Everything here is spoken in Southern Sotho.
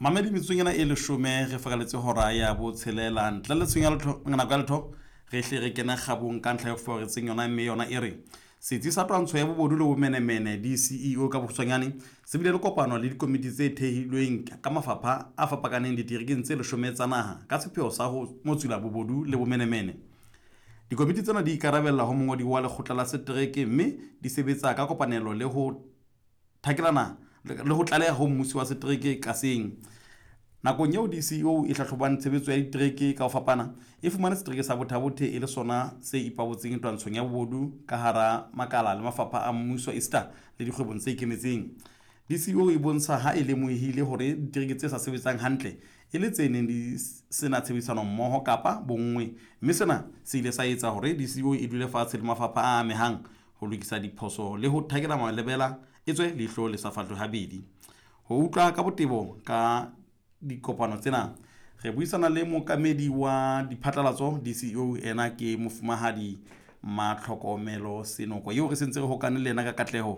Mamedi metsotsong ena e leshome re faraletse hora ya botshelela ntle le tshenyo ya letho nako ya letho re hle re kene kgabong ka ntlha e foretseng yona mme yona e re setsi sa twantsho ya bobodu le bomenemene DCEO ka bokgutshwanyane se bile le kopano le dikomiti tse thehilweng ka mafapha a fapakaneng diterekeng tse leshome tsa naha ka sepheo sa ho motsula bobodu le bomenemene. Dikomiti tsena di ikarabella ho mongodi wa lekgotla la setereke mme di sebetsa ka kopanelo le ho thakelana le ho tlaleha ho mmusi wa setereke ka seng. Nakong eo DCEO e hlahlobang tshebetso ya ditereke ka ho fapana, e fumane setereke sa Botha-Bothe e le sona se ipabotseng twantshong ya bobodu ka hara makala le mafapha a mmuso esita le dikgwebong tse ikemetseng. DCEO e bontsha ha e lemohile hore ditereke tse sa sebetsang hantle e le tse neng di sena tshebedisano mmoho kapa bonngwe, mme sena se ile sa etsa hore DCEO e dule fatshe le mafapha a amehang ho lokisa diphoso le ho thakela malebela etswe leihlo le sa fahlwe habedi. Ho utlwa ka botebo ka dikopano tsena re buisana le mookamedi wa diphatlalatso DCEO ena ke mofumahadi Matlhokomelo Senoko eo re sentse re hokane le yena ka katleho.